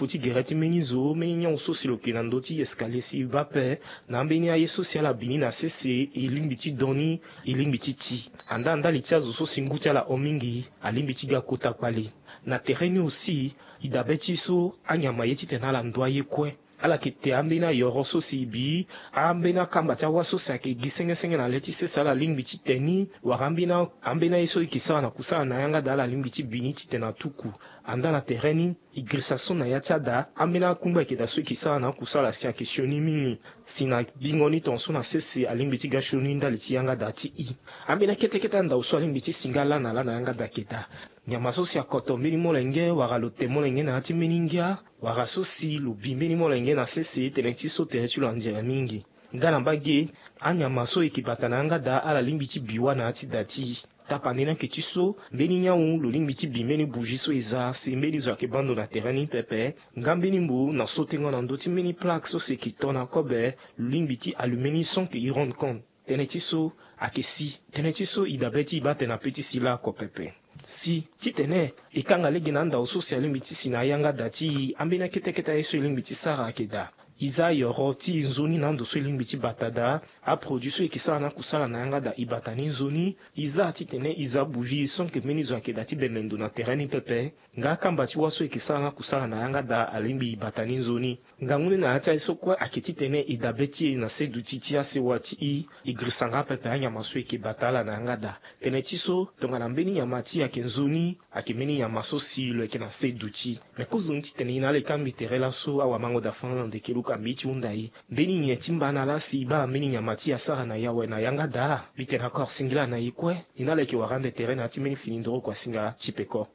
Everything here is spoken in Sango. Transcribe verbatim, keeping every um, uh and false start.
Ti gere ti mbeni zo, mbeni nyau so si lo yeke na ndö ti escalier si e baa ape. Na ambeni aye so si ala bi ni na sese, e lingbi ti don ni, e lingbi ti ti. Andaa ndali ti azo so si ngu ti ala hon mingi, alingbi ti ga kota kpale. Na tere ni aussi, e dabe ti e so anyama ye titene ala ndu aye kue. Ala yeke te ambeni ayoro so si e bi, ambeni akamba ti awa so si ayeke gi senge senge na le ti sese ala lingbi ti te ni, wala ambeni a- ambeni aye so e yeke sara na kusala na yanga daa ala lingbi ti bi ni titene atuku. Andaa na tere ni, e girisa so na ya ti ada, ambeni akungba ayeke daa so e yeke sara na akusala si ayeke sioni mingi. Si na bingo ni tongaso na sese alingbi ti ga sioni ndali ti yanga daa ti e. Ambeni akete kete andao so alingbi ti si nga laa na laa na yanga daa ayeke daa. Nyama so si akoto mbeni molenge wala lo te molenge na ya ti mbeni ngia, wala so si lo bi mbeni molenge na sese, tënë ti so tere ti lo anzere mingi. Nga na mbage, anyama so e yeke bata na yanga daa ala lingbi ti bi wâ na ya ti da ti e. Tapande ni ayeke ti so, mbeni nyau lo lingbi ti bi mbeni bougie so e za si mbeni zo ayeke baa ndo na tere ni pepe. Nga mbeni mbo na sotengo na ndö ti mbeni plaque so si e yeke to na kobe, lo lingbi ti allumer ni sans que e rende compte. Tënë ti so ayeke si. Tënë ti so e dabe ti e baa atene ape ti si laoko pepe. Si titene e kanga lege na andao so si alingbi ti si na ayanga da ti e, ambeni akete kete aye so e lingbi ti sara ayeke daa. E za ayoro ti e nzoni na ando so e lingbi ti bata daa. Aproduit so e yeke sara na akusala na yanga daa e bata ni nzoni. E za titene e za bougie sans que mbeni zo ayeke daa ti bembe ndo na tere ni pepe. Nga akamba ti wâ so e yeke sara na akusala na yanga daa alingbi e bata ni nzoni. Ngangu ni na ya ti aye so kue ayeke titene e dabe ti e na seduti ti asewa ti e, e girisa nga pepe anyama so e yeke bata ala na yanga daa. Tënë ti so, tongana mbeni nyama ti e ayeke nzoni, ayeke mbeni nyama so si lo yeke na seduti. Me kozoni titene e na ala e kambi tere laso, awamango da fana na ndeke luka mbi ti hunda e. Mbeni nyen ti mbana laa si e baa na mbeni nyama ti e asara na e awe na yanga daa? Mbi tene akor singila na e kue. E na ala e yeke wara ande tere na ya ti mbeni fini ndoro kua singa ti peko.